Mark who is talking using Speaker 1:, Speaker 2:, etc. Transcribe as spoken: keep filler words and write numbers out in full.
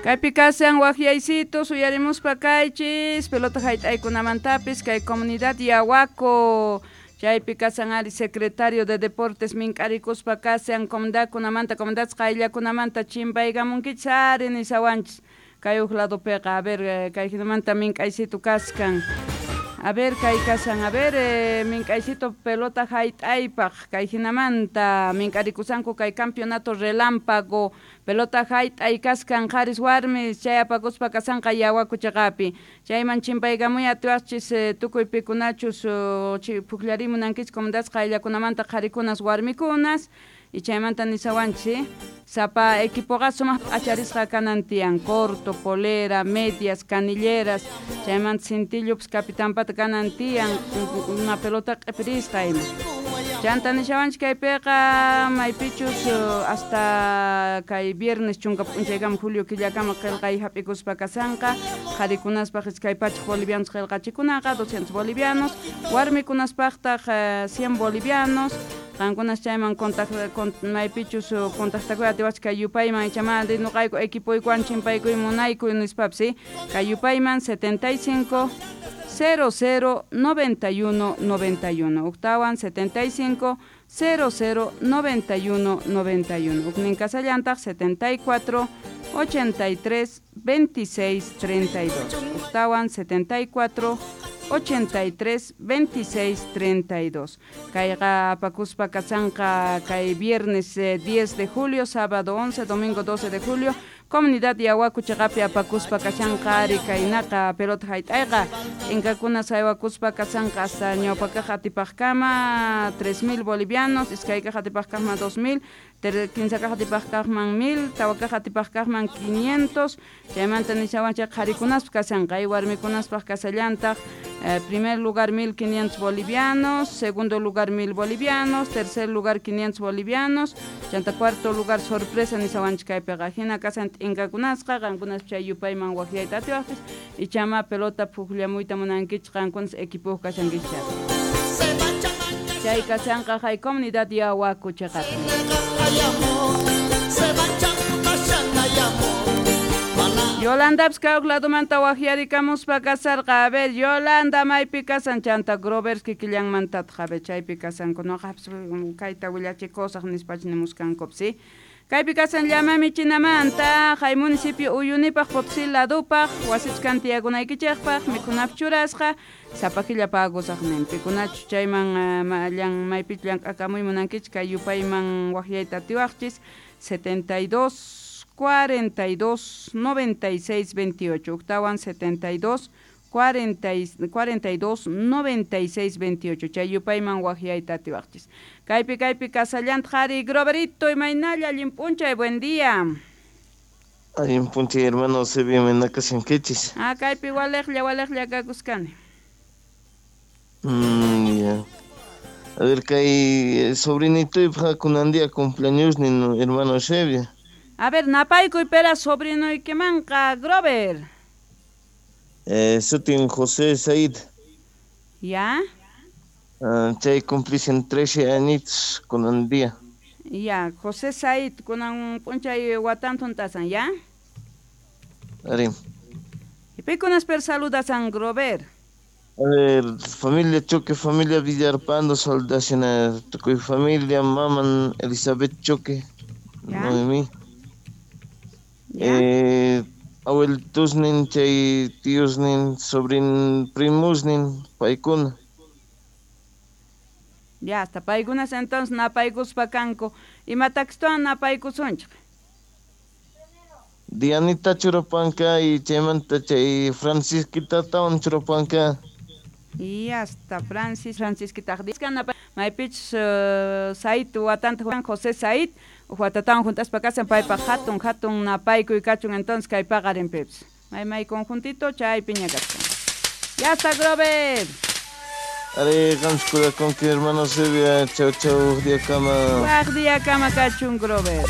Speaker 1: Kaypi kasan waqyaysitos uyarimuspa kaychis pelota hayt'aykunamantapis kay comunidad Yahuaco chaypi kasan ari secretario de deportes mink'arikuspa kasan comunidadkunamanta comunidad qayllakunamanta chimpaykamunkichis ari nisawanchis kay huk ladopiqa a ver kay hinamanta mink'aysitu kaskan. A ver, kay kasan, a ver, eh, mink'aysito pelota hayt'aypaq kay hinamanta mink'arikusanku kay campeonato relámpago pelota hayt'ay kaskan qharis warmis chay apakuspa kasanqa Yahuaco chaqapi chayman chimpaykamuy atiwaqchis eh, tukuy pikunachus uh, pukllarimunankichis comunidades qayllakunamanta qharikunas warmikunas y chaymanta nisawanchis sapa equipoqa sumaq p'acharisqa kanan tiyan corto, polera, medias, canilleras chaymanta cintillupis capitanpata kanan tiyan una pelota q'ipirisqa ima chanta nishawanchis kaypiqa maypichus hasta kay viernes chunka p'unchaykama julio killakama qillqay hap'ikuspa kasanqa qharikunaspaq iskay pachak bolivianos qillqachikunaqa doscientos bolivianos warmikunaspaqtaq cien bolivianos qankunas chayman contacto maypichus contactakuy atiwachis kay yupayman ichamanta nuqayku equipoykuwan chimpaykuy munaykuy nispapis kay yupayman setenta y cinco cero cero noventa y uno noventa y uno octawan setenta y cinco cero cero noventa y uno noventa y uno uknin kasallantaq setenta y cuatro ochenta y tres veintiséis treinta y dos octawan setenta y cuatro ochenta y tres veintiséis treinta y dos kayqa apakuspa kasanqa kay viernes eh, diez de julio, sábado once, domingo doce de julio comunidad Yahuaco chaqapi apakuspa kashanqa ari kaynaqa pelota hayt'ayqa inkakuna saywakuspa kasanqa hasta ñawpakaq atipaqkama tres mil bolivianos, iskaykaq atipaqkaqman dos mil, kinsakaq atipaqkaqman mil, tawakaq atipaqkaqman quinientos chaymanta nishawanchik qharikunaspaq kasanqa y warmikunaspaq kasallantaq eh, primer lugar mil quinientos bolivianos, segundo lugar mil bolivianos, tercer lugar quinientos bolivianos, chanta cuarto lugar sorpresa nishawanchik kaypiqa hina kasan t'inkakunasqa qankunas chay yupayman waqyayta atiwaqchis ichama pelota pukllamuyta munankichik qankunas equipoyuq kashankichik chay kasanqa hay comunidad Yahuaco chaqapi. Yolanda kay huk ladomanta waqyarikamuspa kasarqa a ver Yolanda maypi kasan chanta Grover kikillanmantataq a ver chaypi kasanku nuqapis kayta willachikusaq nispach nimuskankupas si kaypi kasan llama michinamanta hay municipio Uyunipaq Potosí ladupaq wasipis kan tiyakunaykichikpaq mikhunapis churasqa sapa killa pagusaq nin pikunachu chayman llan maypichu llank'akamuy munankichik kay yupayman waqyayta atiwaqchis setenta y dos cuarenta y dos noventa y seis veintiocho octawan setenta y dos cuarenta y dos noventa y seis veintiocho chay yupayman waqyayta atiwaqchis kaypi kaypi kasallanta qhari Groverito imaynalla allin p'unchay buen día.
Speaker 2: Allin p'unchay hermano Sebia imayna kashankichis.
Speaker 1: Ah kaypi waliqlla waliqlla kakuskani.
Speaker 2: Mm, ya. A ver kay sobrinitoypaq kunan día cumpleaños nin hermano Sebia.
Speaker 1: A ver napaykuy pera sobrinoykimanqa Grover.
Speaker 2: Eh, sutin José Said.
Speaker 1: ¿Ya?
Speaker 2: Uh, chay cumplisen trece añitos kunan día.
Speaker 1: Ya, José Said kunan p'unchay watantun tasan, ¿ya?
Speaker 2: Ari.
Speaker 1: Y pikunas per saludasan Grover.
Speaker 2: A ver, familia Choque, familia Villarpando, saludación tukuy familia, maman Elizabeth Choque,
Speaker 1: ¿Ya?
Speaker 2: Noemí.
Speaker 1: ¿Ya?
Speaker 2: Eh, abuelitusnin, chay tíosnin, sobrin primusnin, paykuna.
Speaker 1: Ya, hasta paykunas entonces napaykuspa kanku. Imatakstuwan napaykusunchik?
Speaker 2: Dianita churapanka y chaymanta chay Francisquitatawan churapanka.
Speaker 1: Y hasta Francis, Francisquita. Maypichus uh, Said watanta Juan José Said watatawan juntaspa kasan paypaq hatun hatun napaykuy kachun entonces kay paqarinpipis. May may conjuntito chaypiña kachkan. Ya está Grover.
Speaker 2: Are qamskuda konki hermano Sebia, chau chau día kama.
Speaker 1: Waq día kama kachun Grover.